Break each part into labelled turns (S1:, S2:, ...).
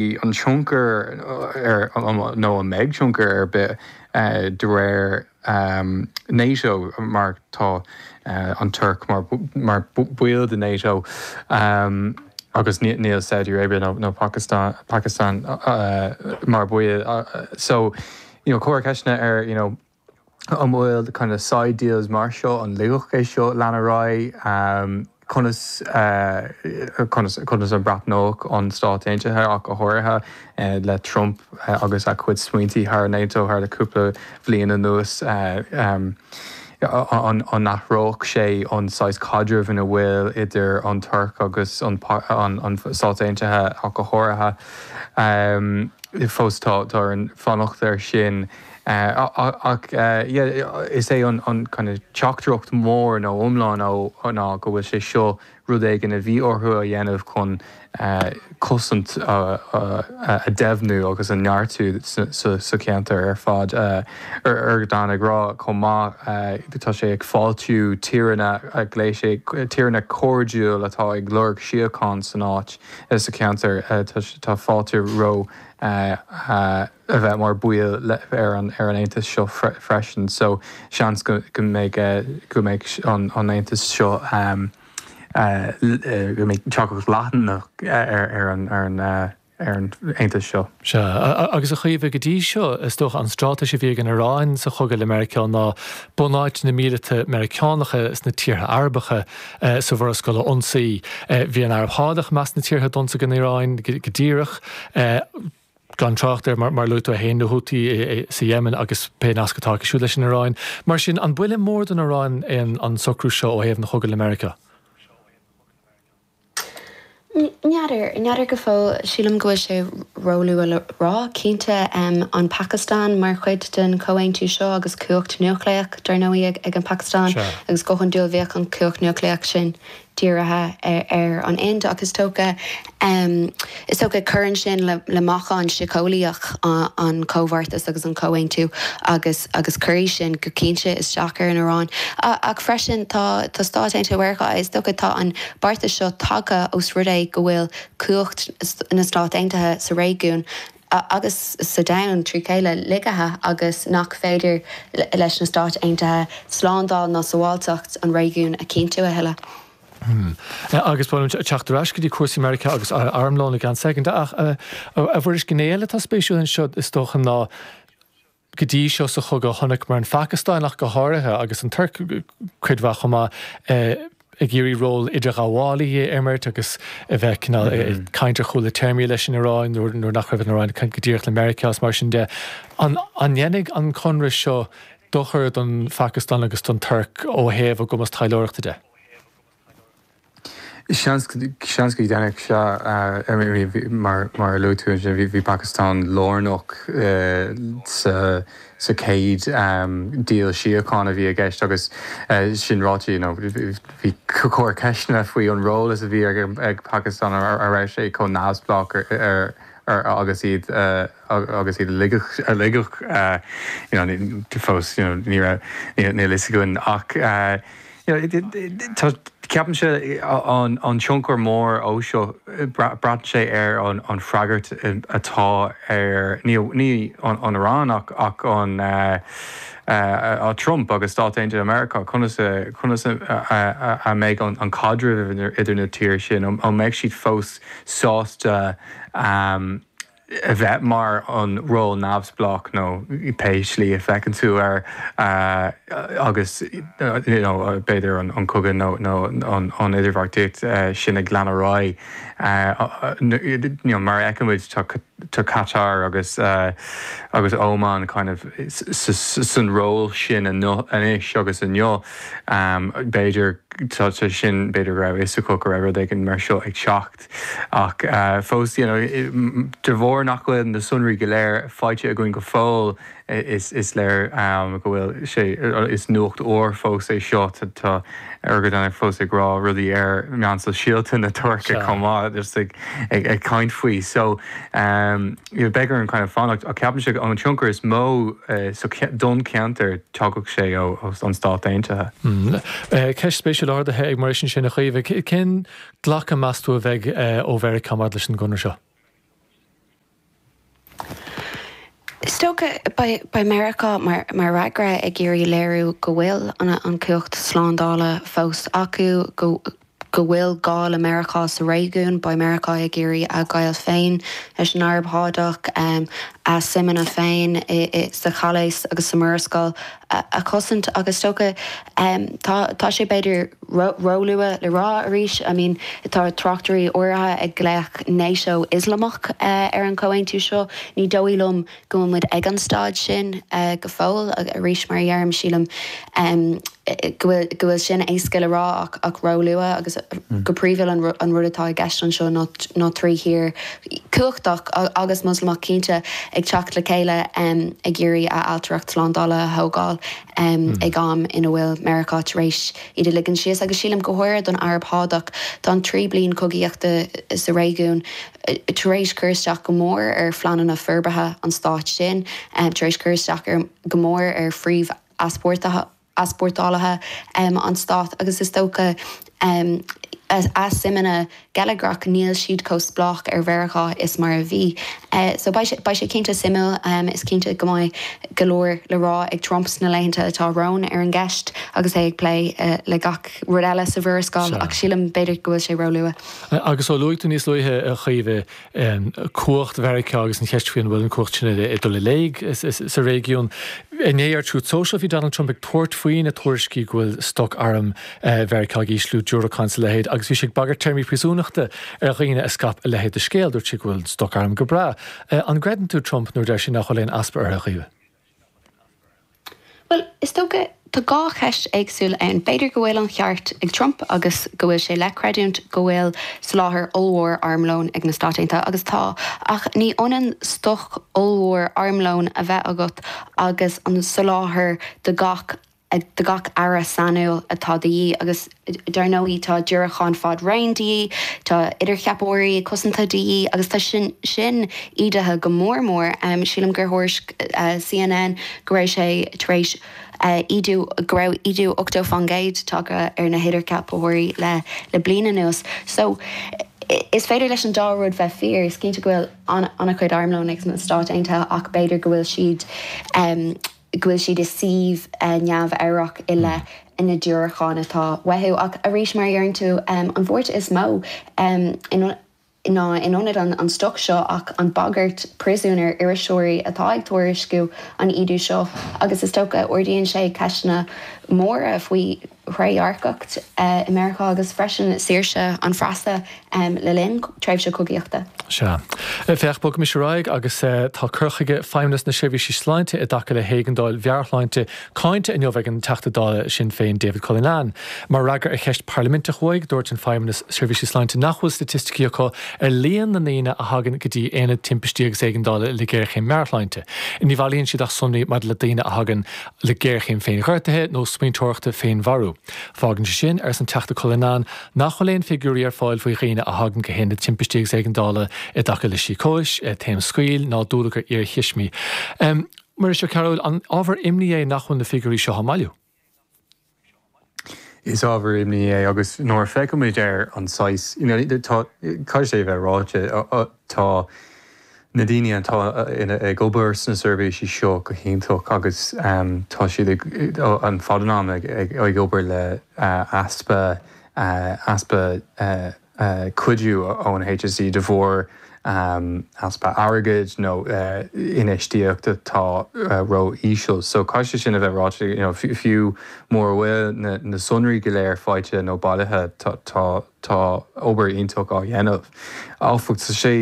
S1: An tionchar ar, nó an mbeidh tionchar ar bith de réir NATO mar tá an Tuirc mar baill de NATO agus níl Saudi Arabia nó Pakistan mar baill so you know cuireadh ceisteanna ar you know An bhfuil kind of side deals mar seo, an ligfeadh é seo lean ar aghaidh? Conas, conas, conas a bhreathnódh an Stát Aontaithe ach go háirithe le Trump agus a chuid smaointí thar NATO thar le cúpla bhliain anuas, an athródh sé an saghas caidrimh ina bhfuil idir an Tuirc agus an Stát Aontaithe ach go háirithe? Fós tá orainn fanacht air sin. Ach is é an kind of teachtaireacht mhór nó iomlán ná go bhfuil sé seo rud éigin a bhí orthu a dhéanamh chun cosaint a deimhniú agus a neartú sa cheantar ar fad. Erdogan ag rá chomh maith tá sé ag fáiltiú tíreanna, ghlaoigh sé tíreanna cairdiúil atá ag lorg síocháin san áit, sa cheantar. Tá fáilte ró a bheith mar baill ar an aontas seo freisin so seans go mbeidh go mbeidh an aontas seo go mbeidh teacht leathanach ar an ar an ar an aontas seo.
S2: Sea, agus a Chaoimhe, go dtí seo, is dócha an straitéis a bhí ag an Iaráin sa chogadh le Meiriceá ná bunáiteanna míleata Meiriceánacha sna tíortha Arabacha sa Mhurascaill a ionsaí. Bhí an Araib Shádach i measc na tíortha a d'ionsaigh an Iaráin go díreach. Gan trácht ar, mar a luaigh tú féin, na Houthi sa Yemen agus pé nasc atá acu siúd leis an Iaráin. Mar sin, an buille mór don Iaráin é an socrú seo ó thaobh an chogaidh le Meiriceá?
S3: N'fheadar. N'fheadar go fóill. Sílim go bhfuil sé róluath le rá. Cinnte, an Phacastáin mar chuid den chomhaontú seo agus cumhacht núicléach, dar ndóigh, ag an Phacastáin agus go hiondúil bheadh an chumhacht núicléach sin dírithe ar an Ind ach is dócha is dócha cuireann sin le meáchan síceolaíoch an comhbheartas agus an comhaontú agus agus cuirfidh sin go cinnte isteach ar an Iaráin. Ach freisin tá tá Stáit Aontaithe Mheiriceá is dócha tá an beartas seo tagtha os rud é go bhfuil cumhacht na Stát Aontaithe sa réigiún agus sa domhan trí chéile lagaithe agus nach féidir leis na Stáit Aontaithe slándáil ná sábháilteacht an réigiúin a chinntiú a thuilleadh.
S2: Agus ba mhaith liom teacht ar ais go dtí cúrsaí Meiriceá agus armlón i gceann soicind. Ach a Mhuiris, gné eile atá spéisiúil anseo is dócha ná Go dtí seo sa chogadh chonaiceamar an Phacastáin ach go háirithe, agus an Tuirc cuid mhaith chomh maith, ag iarraidh ról idirghabhálaí a imirt agus a bheith cineál ag caint ar chúla téarmaí leis an Iaráin nuair nach raibh an Iaráin ag caint go díreach le Meiriceá is mar sin de. An ndéanfaidh an conradh seo dochar don Phacastáin agus don Tuirc ó thaobh a gcumas taidhleoireachta de?
S1: Seans go ndéanfadh, sea. Mar a luaigh tú ansin, bhí Pakistan lárnach sa chéad deal síochána a bhí i gceist agus sin ráite, you know, bhí cuireadh ceisteanna faoi an ról is a bhí ag Pakistan, an raibh sé chomh neamhspleách agus iad agus iad a ligeadh, you know, fós, you know, ní raibh, níl a fhios againn ach, Ceapaimse an tionchar mór ó seo, braitheann sé ar an freagairt atá ar, ní an Iaráin ach an Trump agus Stáit Aontaithe Meiriceá, conas conas a mbeidh an caidreamh idir na tír sin, an mbeidh siad fós sásta a bheith mar an ról neamhspleách nó pé slí a bhfeiceann tú air agus you know b'fhéidir an cogadh nó nó an idirbheartaíocht sin ag lean ar aghaidh. You know mar a fheicimid tá tá Qatar agus agus Oman kind of san ról sin anois agus inniu b'fhéidir tá sin b'fhéidir go raibh fhios acu go raibh rud éigin mar seo ag teacht. Ach fós, you know, de bharr nach bhfuil na sonraí go léir faighte againn go fóill, is léir go bhfuil sé, is nuacht úr fós é seo. Tá Erdogan fós ag rá rudaí ar meáin sóisialta na Tuirce chomh maith, just ag caint faoi. So, you know, beidh orainn kind of fanacht. Ach ceapaimse an tionchar is mó don cheantar, tagann sé ó an Stát Aontaithe.
S2: Ceist spéisiúil ardaithe ag Muiris ansin, a Chaoimhe. Cén glacadh meas tú a bheidh ó Mheiriceá maidir leis an gconradh seo?
S3: dócha, beidh Meiriceá mar fhreagra ag iarraidh léiriú go bhfuil an chumhacht slándála fós acu, go go bhfuil gá le Meiriceá sa réigiún. Beidh Meiriceá ag iarraidh a ghaol féin leis an Araib Shádach, a suimeanna féin sa Chalaos agus sa Mhurascaill a chosaint agus is dócha tá tá sé b'fhéidir róluath le rá arís, I mean tá tráchtairí áirithe ag glaoch NATO Ioslamach ar an chomhaontú seo. Ní dóigh liom go bhfuil muid ag an staid sin go fóill. Arís, mar a dheirim, sílim go bhfuil go bhfuil sin éasca le rá ach ach róluath agus go príomhúil an an rud atá i gceist anseo ná ná trí thír cumhachtach agus Moslamach cinnte ag teacht le chéile ag iarraidh a ailtireacht slándála a thógáil ag am ina bhfuil Meiriceá tar éis iad a ligean síos agus sílim go háirithe don Araib Shádach tá an trí bliain cogaíochta sa réigiún tar éis cur isteach go mór ar phleananna forbartha an stáit sin, tar éis cur isteach ar go mór ar phríomh-easpórtálaithe an stáit agus is dócha a suimeanna geilleagrach, níl siad chomh spleách ar Mheiriceá is mar a bhí. So beidh sé, beidh sé cinnte suimiúil. Is cinnte go mbeidh go leor le rá ag Trump sna laethanta atá romhainn ar an gceist agus é ag plé le gach rud eile sa Mhurascaill ach sílim b'fhéidir go bhfuil sé róluath.
S2: Agus ó luaigh tú níos luaithe, a Chaoimhe, cumhacht Mheiriceá agus an cheist faoi an bhfuil an chumhacht sin ag dul i léig sa réigiún. Inné ar Truth Social bhí Donald Trump ag tabhairt faoi na tuairiscí go bhfuil stoc arm Mheiriceá ag ísliú, diúracáin is a leithéid, agus bhí sé ag bagairt téarmaí príosúnachta ar dhaoine a scaip a leithéid de scéal. Dúirt sé go bhfuil an stoc arm go breá. An gcreideann tú Trump nuair a deir sé nach bhfuil aon easpa orthu, a Chaoimhe?
S3: Bhuel, is dócha, tá dhá cheist éagsúil ann. B'fhéidir go bhfuil an cheart ag Trump agus go bhfuil sé le creidiúint go bhfuil soláthar ollmhór armlóin ag na Stáit Aontaithe, agus tá, ach ní ionann stoc ollmhór armlóin a bheith agat agus an soláthar do gach do gach earra sainiúil atá de dhíth agus dar ndóigh tá diúracáin fad raoin de dhíth, tá idircheapóirí cosanta de dhíth agus tá sin sin ídithe go mór mór. Sílim gur thuairisc CNN go raibh sé tar éis ídiú, go raibh ídiú 80% tagtha ar na hidircheapóirí le le bliain anuas. So is féidir leis an dá rud bheith fíor, is cinnte go bhfuil an-chuid armlóin ag na Stáit Aontaithe ach b'fhéidir go bhfuil siad go bhfuil siad i suíomh neamhfhabhrach i leith na diúracán atá uathu. Ach arís, mar a deireann tú, an bhuairt is mó ná in ionad an stoc seo ach an bagairt príosúin ar iriseoirí atá ag tuairisciú an ídiú seo agus is dócha ardaíonn sé ceisteanna móra faoi thrédhearcacht i Meiriceá agus freisin saoirse an phreasa le linn tréimhse cogaíochta.
S2: Sea. Féach, bogaimis ar aghaidh agus tá cur chuige Feidhmeannas na Seirbhíse Sláinte i dtaca le héigeandáil mheabhairshláinte cáinte inniu ag an Teachta Dála Sinn Féin David Cullinane. Mar fhreagra ar cheist parlaiminteach uaidh, dúirt an Feidhmeannas Seirbhísí Sláinte nach bhfuil staitisticí acu ar líon na ndaoine a thagann go dtí Aonad Timpistí agus Éigeandála le géarchéim meabhairshláinte. Ní bhailíonn siad ach sonraí maidir le daoine a thagann le géarchéim féinghortaithe nó smaointeoireachta féinmharú. Fágann sé sin, arsa an Teachta Cullinane, nach bhfuil aon figiúirí ar fáil faoi dhaoine a thagann go hAonad Timpistí agus Éigeandála i dtaca le sícóis, taom scaoill ná dúlagar iarthuismí. Muiris Ó Cearúil, an ábhar imní é nach bhfuil na figiúirí seo á mbailiú?
S1: Is ábhar imní é agus nuair a féachaimid ar an saghas, you know, tá, caithfidh sé a bheith ráite, tá na daoine atá ag obair sna seirbhísí seo go hiontach agus tá siad ag, an fad an ama ag obair le easpa, easpa cuidiú ón HSE de bharr easpa airgid nó infheistíocht atá ró-íseal. So caithfidh sé sin a bheith ráite, you know, fiú mura bhfuil na sonraí go léir faighte nó bailithe, tá tá obair iontach á dhéanamh. Áfach, tá sé,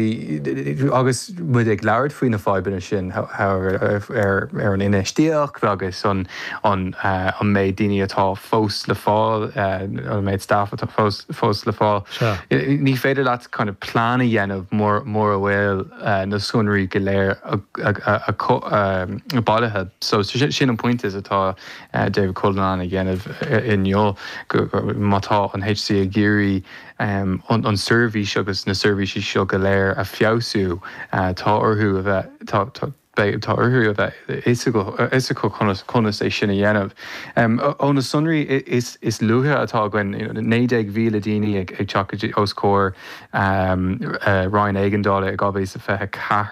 S1: agus muid ag labhairt faoi na fadhbanna sin ar an infheistíocht agus an an méid daoine atá fós le fáil, an méid staff atá fós fós le fáil. Ní féidir leat kind of plean a dhéanamh mura bhfuil na sonraí go léir bailithe. So sin an pointe atá David Cullinane ag déanamh inniu, má tá an HSE ag iarraidh an seirbhís agus na seirbhísí seo go léir a feabhsú, tá orthu a bheith, Beidh, tá orthu a bheith fhios acu conas, conas é sin a dhéanamh. Ó na sonraí is, is luaithe atá againn, 19,000 daoine ag teacht os comhair Roinn Éigeandála i 2024.